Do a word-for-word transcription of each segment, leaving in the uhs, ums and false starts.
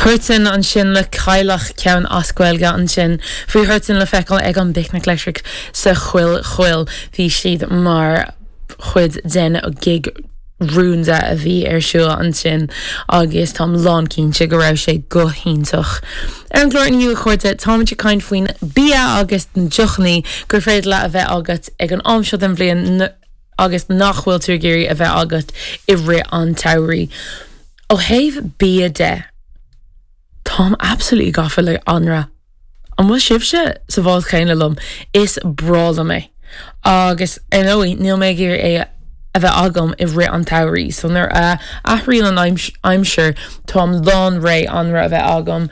Huartan ansin le Cailleach ceann as Gaeilge ansin bhí Huartan le feiceáil ag an bPicnic Leictreach sa Choill Chaoil bhí siad mar chuid den gig rúnda a bhí ar siúl ansin agus táim lánchinnte go raibh sé go hiontach. Ar an gclár inniu a chairde táimid ag caint faoin bia agus na deochanna gur féidir leat a bheith agat ag an am seo den bhliain agus nach bhfuil tú ag iarraidh a bheith agat i rith an tsamhraidh. Ó thaobh bia de Táim absolutely gafa le anraith. An bhfuil sibhse sa bhád céanna liom is breá liom é. Agus ar ndóigh níl mé ag iarraidh é a bheith agam i rith an tsamhraidh, so nuair a athraíonn an aimsir táim lán réidh anraith a bheith agam.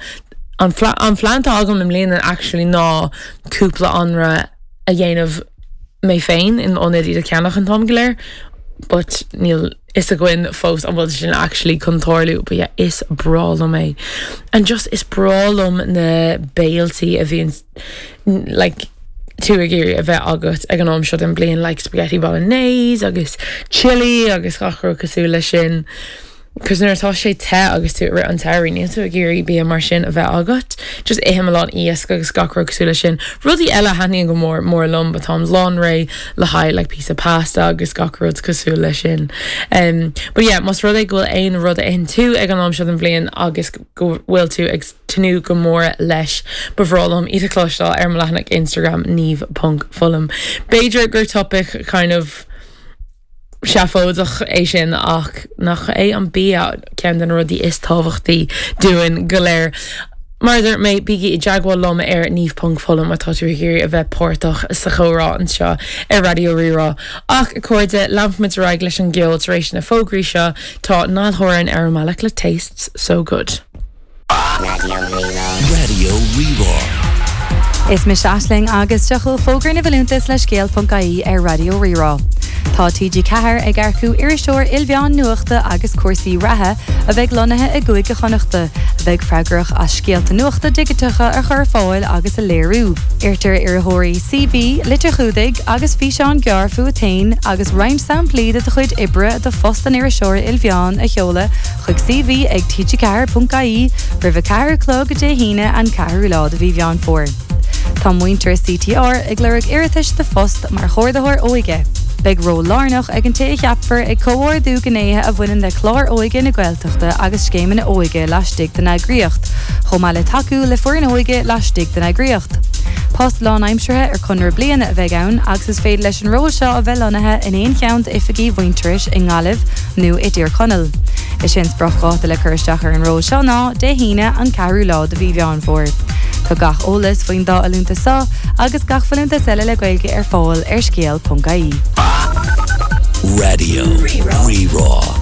An an phlean atá agam i mbliana actually ná cúpla anraith a dhéanamh mé féin in ionad iad a cheannach an t-am go léir, but níl fhios againn fós an bhfuil sin actually chun tarlú, but yeah, is breá liom é. And just is breá liom na béiltí a bhíonn like tú ag iarraidh a bheith agat ag an am seo den bliain like spaghetti bolognese agus chili agus gach rud cosúil leis sin. Cos nuair atá sé te agus tú rith an tsamhraidh níl tú ag iarraidh bia mar sin a bheith agat, just ithim a lán iasc agus gach rud cosúil leis sin. Rudaí eile thaitníonn go mór mór liom, but táim lán réidh le haghaidh like píosa pasta agus gach rud cosúil leis sin. Um, but yeah, más rud é go bhfuil aon rud a itheann tú ag an am seo den bhliain agus go bhfuil tú ag tnúth go mór leis ba bhreá liom iad a chloisteáil ar mo leathanach Instagram niamh.fullam. B'fhéidir gur topic kind of seafóideach é sin ach nach é an bia ceann de na rudaí is tábhachtaí dúinn go léir. Mar dúirt mé bígí i dteagmháil liom ar niamh.fullam má tá tú ag iarraidh a bheith páirteach sa chomhrá anseo ar Raidió Rí-Rá. Ach a chairde leanfaimid ar aghaidh leis an gceol tar éis na fógraí seo tá Niall Horan ar an mbealach le Tastes So Good. Raidió Rí-Rá. Is mise Aisling agus seo chugaibh fógra na bhfolúntas le scéal.ie ar Raidió Rí-Rá. Tá TG Ceathair ag earcú iriseoir ilmheán nuachta agus cúrsaí reatha a bheidh lonnaithe i gCúige Chonnachta, a bheidh freagrach as scéalta nuachta digiteacha a chur fáil agus a léiriú. Iarrtar iarrthóirí CV, litir chumhdaigh agus físeán gearr fút féin agus roinnt samplaí de do chuid oibre do phost an iriseora ilmheán a sheoladh chuig CV ag TG ceathair.ie roimh a ceathair a chlog Dé hAoine an ceathrú lá de mhí Mheán Fómhair. Tá Muintearas CTR ag lorg iarratais do phost mar chomhordaitheoir óige. Beidh ról lárnach ag an té a cheapfar ag comhordú gnéithe a bhaineann le clár óige na Gaeltachta agus scéimeanna óige laistigh den eagraíocht, chomh maith le tacú le foireann óige laistigh den eagraíocht. Post lánaimseartha ar conradh bliana a bheidh ann agus is féidir leis an ról seo a bheith lonnaithe in aon cheann d'oifigí Mhuintearais i nGaillimh nó i dTír Chonaill. Is é an spriocdháta le cur isteach ar an ról seo ná Dé hAoine an ceathrú lá de mhí Mheán Fómhair. Tá gach eolas faoin dá fholúntas seo agus gach folúntas eile le Gaeilge ar fáil ar scéal.ie. Raidió Rí-Rá.